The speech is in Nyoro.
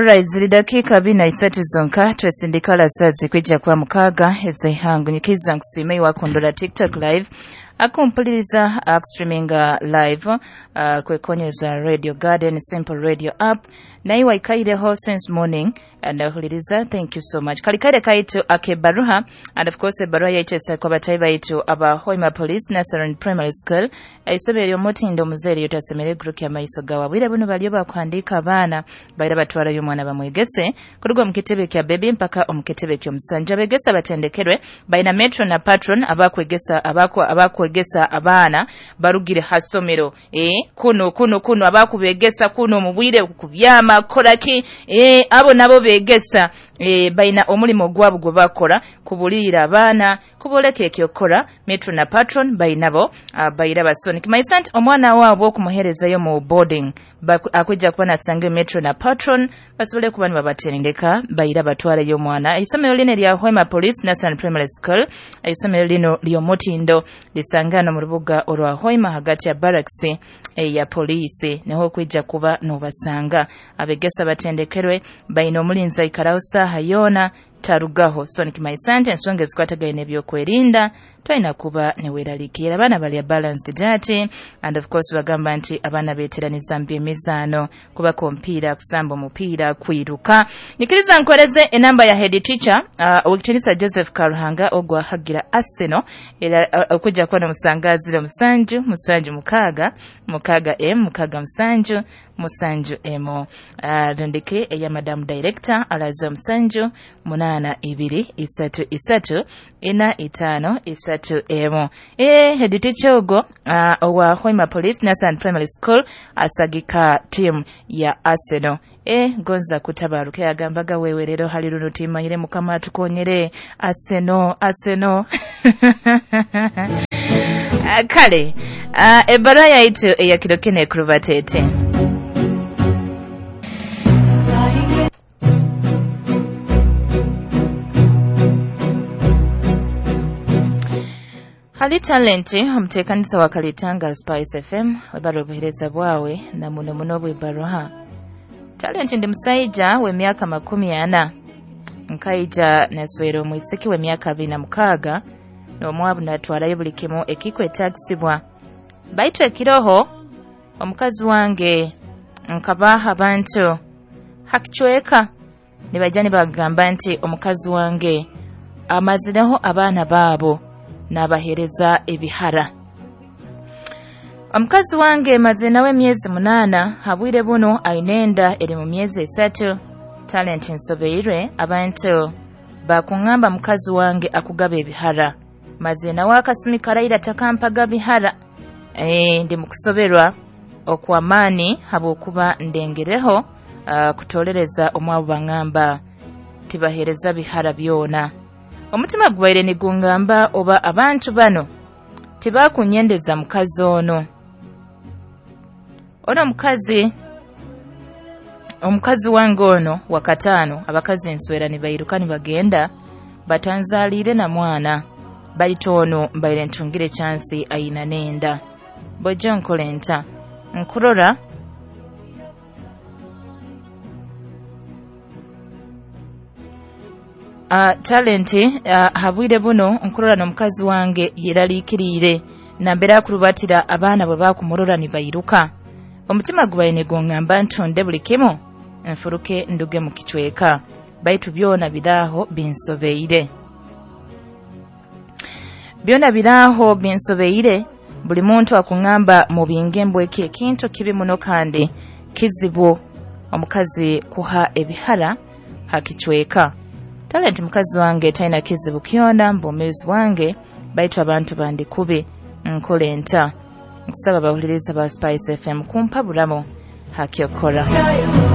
Alright, ziri dakiika 43 zonka twesindika saa zikwija kwa 6 ez'eihangwe. Nyikiza nkusiime iwakundora TikTok live, akumpuliriza akustreaminga live kwekonyeza Radio Garden Simple Radio app, naye waikaireho since morning nahuliriza. Thank you so much. Kalikaire kaitu akebaruha, and of course ebaruha yaitu kwa batai baitu aba Hoima Police Nasaran Primary School, isomero ly'omutindo omuzeere yotasemere guruki amaiso gawe. Bwire buno baliyo bakuhandika abaana baira batwarayo omwana bamwegese kuruga omu kitebe kya baby mpaka omu kitebe ky'omusanja. Abegesa batendekerwe baina metro na patron abakwegesa abakwegesa abaana barugire hasomero kuno kuno kuno abakubegesa kuno mu bwire kubyama koraki abo nabo begesa baina omulimo gwabo gwe bakora kubulira abaana kuboleka ekyokora. Metro na patron bainabo baira basoni kimaisant omwana wabo okumuherezayo mu boarding akujja kuba nasange metro na patron basobole kuba nibabatendeka baira batwaleyo omwana. Isomero lino lya Hoima Police National Primary School, isomero lino ly'omutindo lisangana mu rubuga olwa Hoima hagati ya barracks ya polisi, niho kwijja kuba nobasanga. Abegesa batendekerwe baina omulinzi aikaraho saaha yoona tarugaho. So nikimaisante ensonga ezikwatagaine ebyokwerinda twalina kuba neweeraliikirira. Abaana balya balanced diet, and of course bagamba nti abaana beeteraniza mu byemizaano, kubaka omupiira, kusamba omupiira, kwiruka. Nyikiriza nkoreze enamba ya head teacher owekitiinisa Joseph Karuhanga ogwahagira Arsenal, era okujja kuba nomusanga 07 7 6 6 M 6 7 7 M. Rondeke eya madam director alaza 7 8 2 3 3 4 5 3 M. Head teacher ogo owa Hoima Police Nasan Primary School asagika team ya Arsenal. Gonza kutabaruke agambaga wewe rero hali runo timanyire mukama atukonyere Arsenal Arsenal. Kale ebara yaitu eyakirokene kurubatete. Hali talenti omuteekanisa wa Kalitanga Spice FM webara obuhereza bwawe na muno muno bw'ebaruha. Talenti ndi musaija w'emyaka 40, nkaija naswera omwisiki w'emyaka 26 n'omwabu natwarayo buli kimu ekikwetagisibwa. Baitu ekiroho omukazi wange nkabaha abantu hakichweka nibajja nibagamba nti omukazi wange amazireho abaana baabo nabahereza ebihara. Omukazi wange maze nawe emyezi 8, habwire buno ainenda eri mu myezi 3. Talent nsobeirwe abantu bakungamba mukazi wange akugaba ebihara, maze nawe akasumi karaira takampaga bihara. Ndi mukusoberwa okwamani habwokuba ndengereho kutolereza omwabo bangamba tibahereza bihara byona. Omutima gwaire nigungamba oba abantu bano tibakunyendeza mukazi ono. Ono omukazi wange ono wakatano, abakazi enswera nibairuka nibagenda batanzalire na mwana, baitu ono mbaire ntungire chansi aina nenda. Bojjo nkole nta nkurora talenti habwire buno nkurora n'omukazi wange yeraliikiriire nambera akurubatira abaana bwe bakumurora nibairuka. Omutima gubaire nigungamba ntonde buli kimu nfuruke nduge mu kichweka, baitu byona biraho binsobeire. Byona biraho binsobeire. Buli muntu akungamba mu bingembwe eki ekintu kibi muno kandi kizibu omukazi kuha ebihara hakichweka. Talenti mukazi wange talina kizibu kyona mbomezi wange, baitu abantu bandikubi nkole nta. Nkusaba abawuliriza ba Spice FM kumpa bulamu hakyokora.